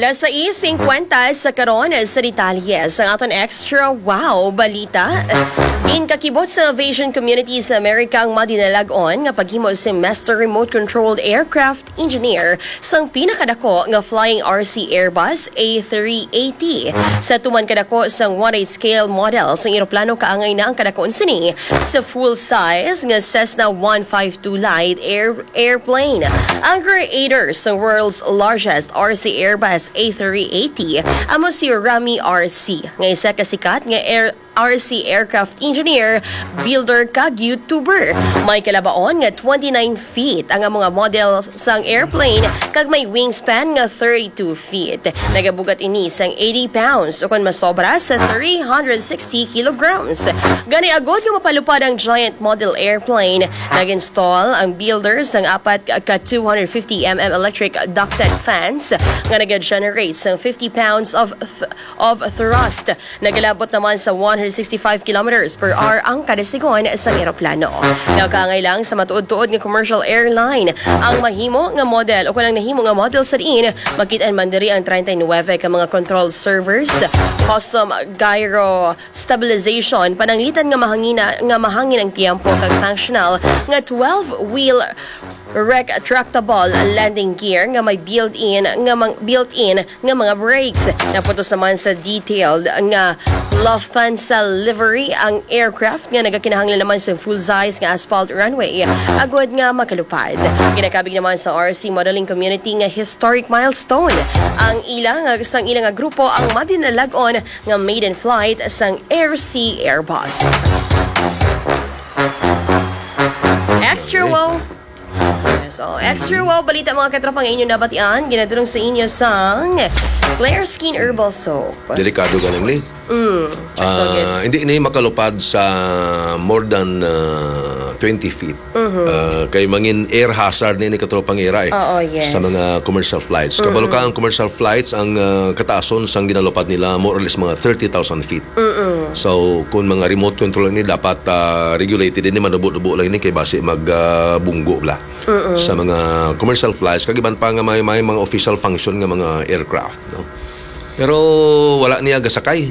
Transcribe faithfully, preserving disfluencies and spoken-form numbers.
Alas sais singkwenta sa karon sa detalye sang aton extra wow balita. Ginkakibot sa aviation community sa Amerika ang madinalag-on nga paghimo sing master remote controlled aircraft engineer sang pinakadako nga flying R C Airbus A three eighty. Sa tuman kadako sang one eighth scale model sang eroplano, kaangay na ang kadakon sini sa full size nga Cessna one five two Light Air airplane. Ang creator sa world's largest R C Airbus A three eighty amo si Rami R C, nga isa ka sikat nga air R C aircraft engineer, builder, kag YouTuber. May kalabaon nga twenty-nine feet ang mga model sang airplane, kag may wingspan nga thirty-two feet. Nagabugat ini sang eighty pounds, o kon masobra sa three hundred sixty kilograms. Gani, agod nga mapalupad ang giant model airplane, nag-install ang builder sang apat ka two hundred fifty M M electric ducted fans nga nag-generate sang fifty pounds of th- of thrust. Nagalabot naman sa one hundred sixty-five kilometers per hour ang kada sigon sang eroplano. Nakaangay lang sa matuod-tuod nga commercial airline ang mahimo nga model, o kon ang nahimo nga model sa diin, makit-an man diri ang treinta y nueve ka mga control servers, custom gyro stabilization, pananglitan nga mahangina, nga mahangin ang tiyempo, kag functional nga twelve-wheel retractable landing gear nga may built-in nga mang, built-in nga mga brakes. Naputos naman sa detailed nga Lufthansa livery ang aircraft, nga nagakinahanglan naman sa full size nga asphalt runway agod nga makalupad. Ginakabig naman sa R C modeling community nga historic milestone ang ila nga sang ila nga grupo ang madinalag-on nga maiden flight sang R C Airbus. Extra wow. Yes, oh, extra wow balita, mga katropa, nga inyo nabatian, ginadulong sa inyo sang Clear Skin Herbal Soap. Delikado galing ni. Mm, sakto gid. Ah, hindi ni makalupad sa more than ah, twenty feet. Mhm. Ah, kay mangin air hazard ni, ni katropang ira eh. Oo, yes. Sa mga commercial flights. Kabalo ka, ang commercial flights, ang ah, kataason sang ginalupad nila more or less mga thirty thousand feet. Mm-mm. So, kung mga remote control ni, dapat ah, regulated din, manubo-nubo lang ini kay basi mag ah, bunggo bla. Mm-mm. Sa mga commercial flights, kag iban pa nga may, may mga official function nga mga aircraft, no? Pero wala niya gasakay.